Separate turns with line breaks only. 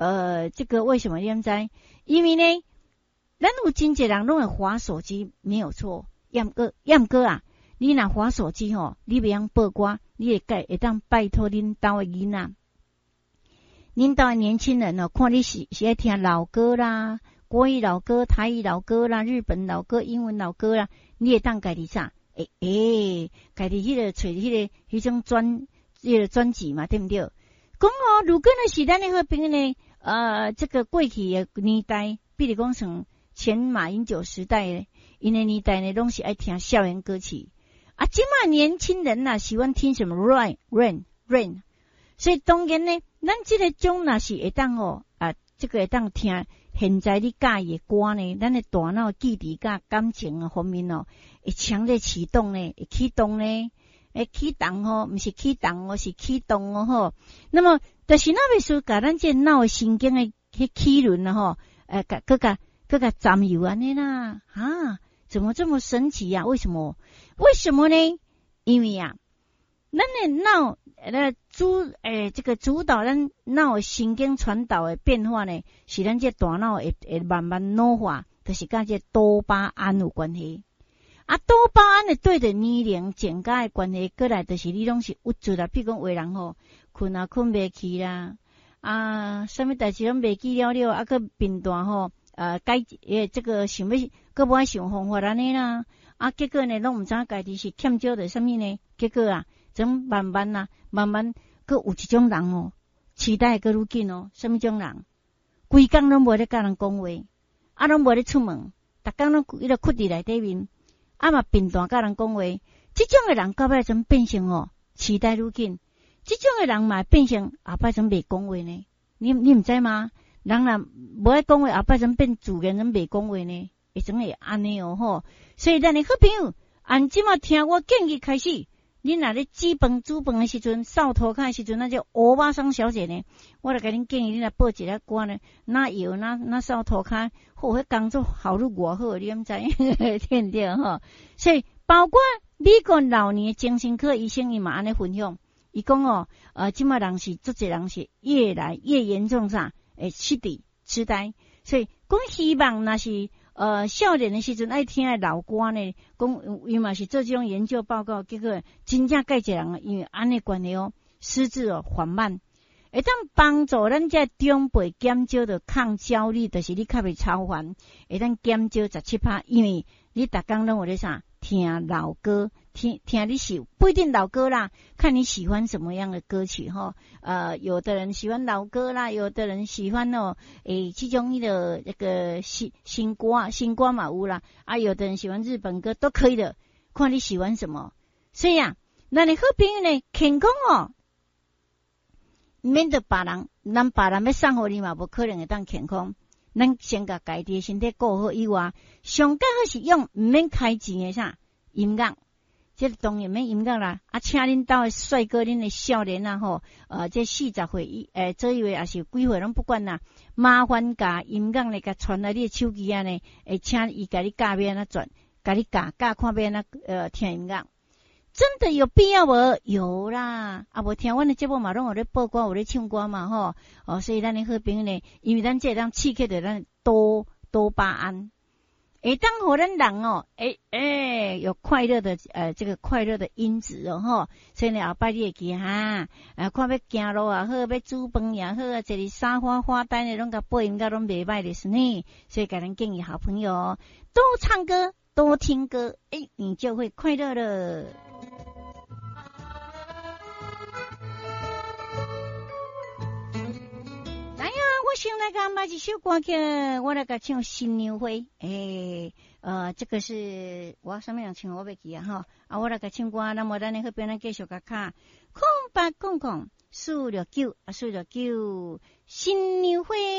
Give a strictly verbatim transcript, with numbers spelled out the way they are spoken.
呃，這個為什麼你知？因為呢，咱有真濟人攏會滑手機，沒有錯。毋過毋過啊，你若滑手機吼，你袂曉播歌，你會會會當拜託恁兜的囡仔，恁兜的年輕人哦，看你是是愛聽老歌啦，國語老歌、台語老歌啦、日本老歌、英文老歌啦，你會當家己啥？欸欸，家己彼個揣彼個彼種專彼個專輯嘛，對毋對？講哦，如果呢是咱的好朋友呢，呃，這個過去的年代，比如講像前馬英九時代，𪜶的年代呢，攏是愛聽校園歌曲。啊，這馬年輕人吶，喜歡聽什麼 rain rain rain，所以當然呢，咱這個種若是會當哦，啊，這個會當聽現在你佮意的歌呢，咱的大腦記憶佮感情方面哦，會強烈啟動呢，會啟動呢，會啟動吼，毋是啟動哦，是啟動哦吼。那麼，就是那欲說，共咱這腦的神經的彼齒輪啊吼，呃，共閣共閣共占有按呢啦，啊，怎麼這麼神奇呀？為什麼？為什麼呢？因為啊，咱的腦呃主欸這個主導咱腦神經傳導的變化呢，是咱這大腦會會慢慢老化，就是佮這多巴胺有關係。啊，多巴胺會對著年齡增加的關係，過來就是你攏是鬱卒啦，比如講有的人吼，睏也睏袂去啦，啊，啥物代誌攏袂記了了，啊，閣貧惰吼，呃，改欸這個想欲閣無愛想方法按呢啦，啊，結果呢，攏毋知影家己是欠少著啥物呢？結果啊，怎慢慢啊，慢慢閣有一種人哦，痴呆閣愈緊哦，啥物種人？規工攏無咧佮人講話，啊，攏無咧出門，逐工攏彼個睏佇內底面，啊嘛貧惰佮人講話，這種的人到尾怎變成哦，痴呆愈緊？這種的人嘛會變成後擺怎袂講話呢？你你毋知嗎？人若無愛講話，後擺怎變自然怎袂講話呢？會怎會按呢哦吼？所以咱的好朋友，按這馬聽我建議開始，恁若咧煮飯煮飯的時陣，掃塗跤的時陣，咱這歐巴桑小姐呢，我來共恁建議，恁來播一个歌呢，若搖若若掃塗跤，好，彼工作效率偌好，你敢知？對毋對吼？所以包括美國老年精神科醫生，伊嘛按呢分享，伊講哦，呃，這馬人是足濟人是越來越嚴重啥？會失智痴呆，所以講希望若是呃少年的時陣愛聽的老歌呢，講伊嘛是做這種研究報告，結果真正蓋濟人因為按呢關係哦，失智哦緩慢，會當幫助咱這長輩減少著抗焦慮，就是你較袂操煩，會當減少十七趴，因為你逐工攏有咧啥聽老歌，聽聽你喜不一定老歌啦，看你喜歡什麼樣的歌曲吼。呃，有的人喜歡老歌啦，有的人喜歡哦，欸，這種彼個那個新新歌新歌嘛有啦，啊，有的人喜歡日本歌都可以的，看你喜歡什麼。所以啊，咱的好朋友呢，健康哦，免得別人，咱別人欲送予你嘛，無可能會當健康。咱先共家己的身體顧好以外，上較好是用毋免開錢的啥音樂，這個當然免音樂啦。啊，請恁兜的帥哥、恁的少年啊吼，呃，這四十歲以欸左右的，抑是幾歲攏不管啦。麻煩共音樂呢，共傳來你的手機仔呢，會請伊共你教欲按怎轉，共你教教看欲按怎呃聽音樂。真的有必要無？有啦，啊無聽阮的節目嘛，攏有咧播歌，有咧唱歌嘛吼。哦，所以咱的好朋友呢，因為咱這會當刺激著咱多多巴胺，會當予咱人哦，欸欸有快樂的呃這個快樂的因子哦吼。所以呢，後擺你會記哈，啊看欲行路也好，欲煮飯也好，啊坐佇沙發發呆呢，攏共播音樂攏袂䆀就是呢。所以共咱建議好朋友多唱歌，多聽歌，欸，你就會快樂了。來啊，我先來共播一首歌曲，我來共唱《新娘花》。欸，呃，這個是我啥物人唱，我袂記啊吼。啊，我來共唱歌，那麼咱的好朋友繼續共敲空八空空四六九啊，四六九，新娘花。